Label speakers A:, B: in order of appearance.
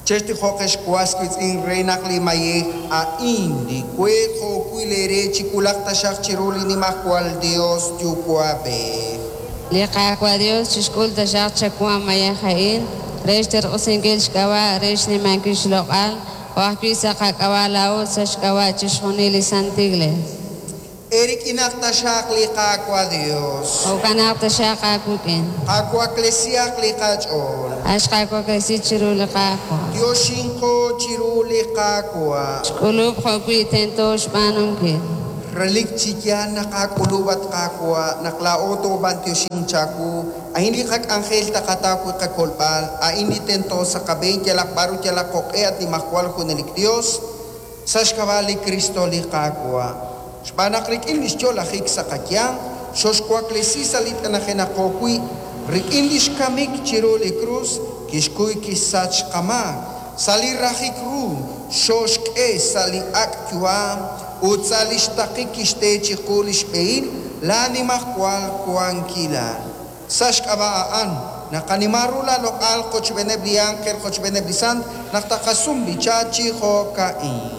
A: Chextijoq ex was wiitz'in re naq li mayej a'in li we jo'wi' leere chiwulaq taxaq chiru li Nimajwal Yos Yuwa'b'ej.
B: Li Qaawa' Yos chixk'ul taxaq chawu a mayej a'in re xterq'usinkil xk'ab'a' re xnimankil xloq'al, jo' ajwi' sa' qak'ab'a' laa'o ut sa' xk'ab'a' chixjunil li Santil Iglees.
A: Eerik'inaq taxaq li Qaawa' Yos.
B: Jo'kanaq taxaq aawik'in.
A: Qawaklesihaq li qach'ool.
B: A' xqawaklesi chiru li Qaawa'.
A: Yoxinqo chiru li Qaawa'.
B: Xk'ulub' jo'wi' tento xb'aanunkil.
A: Relik chi yaal naq aak'ulub', at Qaawa', naq laa'o toob'antioxinq chawu. A'in li qak'anjel taqataw wi' qakolb'al, a'in li tento sa' qab'een yalaq b'ar ut yalaq jo'q'e, at Nimajwal Junelik Yos, sa' xk'ab'a' li Kristo li Qaawa'. Xb'aan naq rik'in li xyo'lajik sa' qayanq, xoxwaklesi sa' li t'anajenaqo wi', rik'in li xkamik chiru li krus kixkuy kixsach qamaak, sa' li rajik ru xooxk'e sa' li ak' yu'am ut sa' li xtaqik kixte chiqu li xb'ehil laanimajwal wankilal. Sa' xk'ab'a' a'an, naqanima ru laaloq'al qochb'eeneb' li ánjel qochb'eeneb' li sant naq taqasum b'icha chi jo'ka'in.